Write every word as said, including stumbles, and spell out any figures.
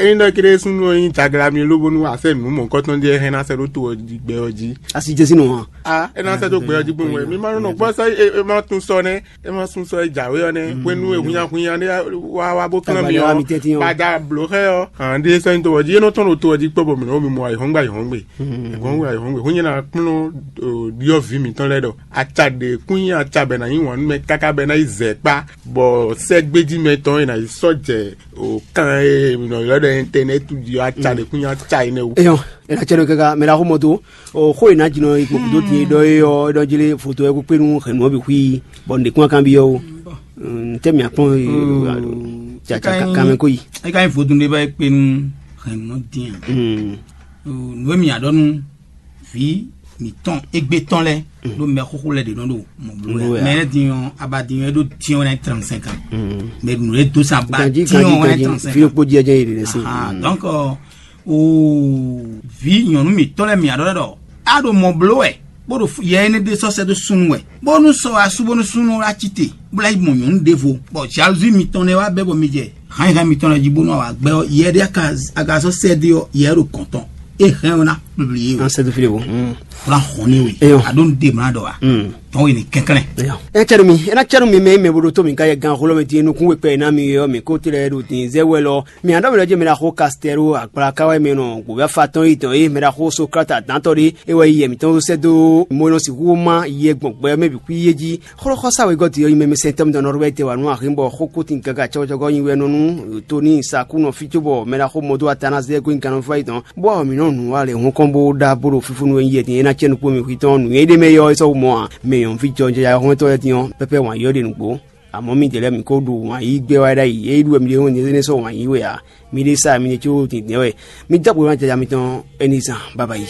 Ényí ɖɔ kéɖé súnnu ɔ́ nyí jagla mi lóbónú a sɛ́ nǔ mɔ̌hunkɔtɔn ɖé hɛn ná sɛ́ ɖó to ɔ́ jí gbɛ ɔ́ jí. Asi jɛ sín nɔ hɔn. A é ná sɛ́ dó gbɛ ɔ́ jí gbɔn wɛ. Mi ma nɔ gbɔ sɛ́ é ma tún sɔ nɛ́, é ma sún sɔ é jǎwe ɔ́ nɛ́ hwenu e hunnyahunnya ɖé wá wá bó kán mi ɔ́. Bada blǒ xɛ ɔ́ hǎn ɖé sɛ́ nyí to ɔ́ jí é nɔ tɔ́n ɖo to ɔ́ jí kpɔ́ bɔ mǐ nɔ mi mɔ ayǐhɔ́ngbe ayǐhɔ́ngbe. Ayǐhɔ́ngbe ayǐhɔ́ngbe hún nyɛ ná kplɔ́n ɖyɔ́vǐ mǐtɔn lɛ́ɛ ɖɔ aca ɖě kún nyí aca bɛ ná nyí wǎn nú mɛ káká bɛ ná yi zɛ kpá bɔ sɛ́gbéjí mɛtɔn e ná yi sɔ́ jɛ o kan e nɔ ylɔ́ ɖɔ internet jí ɔ́ aca ɖě kún nyí aca énɛ́ wú. Eyɔn, ena cɛ ɖo kaka mɛ ɖaxó mɔ tó. O xó e ná jinɔ yi kpokpo dó tin e ɖɔ é ɔ́ é ɖɔ jlé foto wɛ kó kpé nú hɛ̌nnu ɔ́ bǐ xwí bɔ un ɖě kún kanbyɔ́ ó. Tɛ́ mǐ akpɔ́n kanmɛ kó yi. É ka nyí vodún ɖé bá é kpé nú hɛ̌nnu ɔ́ dín a? Nǔ e mǐ ya ɖɔ nú vǐ mǐtɔn égbé tɔn lɛ́ɛ ɖó mɛ xóxó lɛ́ɛ ɖě nɔ ɖo mɔ bló wɛ. Mɛ lɛ́ɛ din ɔ́ aba din ɔ́ é ɖó din ɔ́ wɛ ná nyí trente cinq ans. Mɛ nǔ e dó sa ba din ɔ́ wɛ ná nyí trente cinq ans. Fi kpó jí ɛjɛ yi ɖe lɛ sí. Donc o vǐ nyɔ̌nu mǐtɔn lɛ́ɛ mǐ aɖɔ ɖɔ a ɖo mɔ bló wɛ bó ɖo yɛ énɛ́ ɖé sɔ́ sɛ́ dó súnnu wɛ bónú sɔ asú bónú súnnu wá cí te bó ná yi mɔ nyɔ̌nu ɖěvo bɔ jalousie mitɔn nɛ́ wá bɛ́ bɔ mi jɛ hǎnnyihán mitɔn lɛ́ɛ jí bónú awǎ gbɛ ɔ́ yɛ ɖé aga sɔ́ sɛ́ dó ɔ́ yɛ ɖo kɔn tɔn é hɛn ɔ́ ná publié we. An sɛ́ dó fí ɖé bó. Bó ná hɔn ní we. Eyɔn. A ɖó nu ɖe mlá ɖɔ wa. Tɔn we ní kɛnklɛn. Ɛ cɛnu mi, ɛ ná cɛnu mi mɛ mɛ bo ɖo tó mi ka yɛ gan xolɔ mi ti nukun we kpɛ na mi yɔ mi ko tlɛ ɖo tin zɛ wɛ lɔ. Mi adɔ mi lɔ je mi ɖa xo Kastɛro akpla ka wɛ mi nɔ gbɔbɛ fa tɔn yi tɔn ye mi ɖa xo Sokrate adantɔ ɖe e wɛ yi yɛ mi tɔn sɛ do mo nɔ si hu ma yɛ gbɔn gbɛ mɛ bi kú ye ji. Xlɔ́xɔ́sá wegɔ́ din ɔ́ nyi mɛmɛsɛntɔ́ mitɔn Nɔrwɛ́ti wǎ nú axin bɔ xókútin gaga cɔ́gɔcɔ́gɔ́ nyi wɛ nɔ nú Toni sa kú nɔ fí cóbɔ mɛ ɖaxó mɔdó atana zɛ gɔ́ nyi gannɔfá yětɔn, bó wá mǐ nɔ nǔ wa lɛ hɔn kɔn bó ɖá bó ɖo fífúnú e nyi yɛ din é ná cɛ́ nukpó mi xwítɔn nǔ e ɖ'é mɛ é ɔ́ é sɔ́ wú mɔ ǎ. Mɛ nyɔ̌nu fí jɔjɔyá hɔntɔn lɛ́ɛ din ɔ́, pɛ́pɛ́ wǎn yí ɔ́ ɖe nǔgbó. Amɔ̌ midɛɛ lɛ́ɛ mǐ ko ɖo wǎn yí gbɛ wá ɖ'ayǐ, é ɖu wɛ mi ɖe hɔn nyɛ énɛ́ sɔ́ wǎn yí wɛ ǎ. Mi ɖe sa mi ɖe có dǐndɛ́n wɛ. Mi dó agbo ná jaja mitɔn ɛnizan baba yi.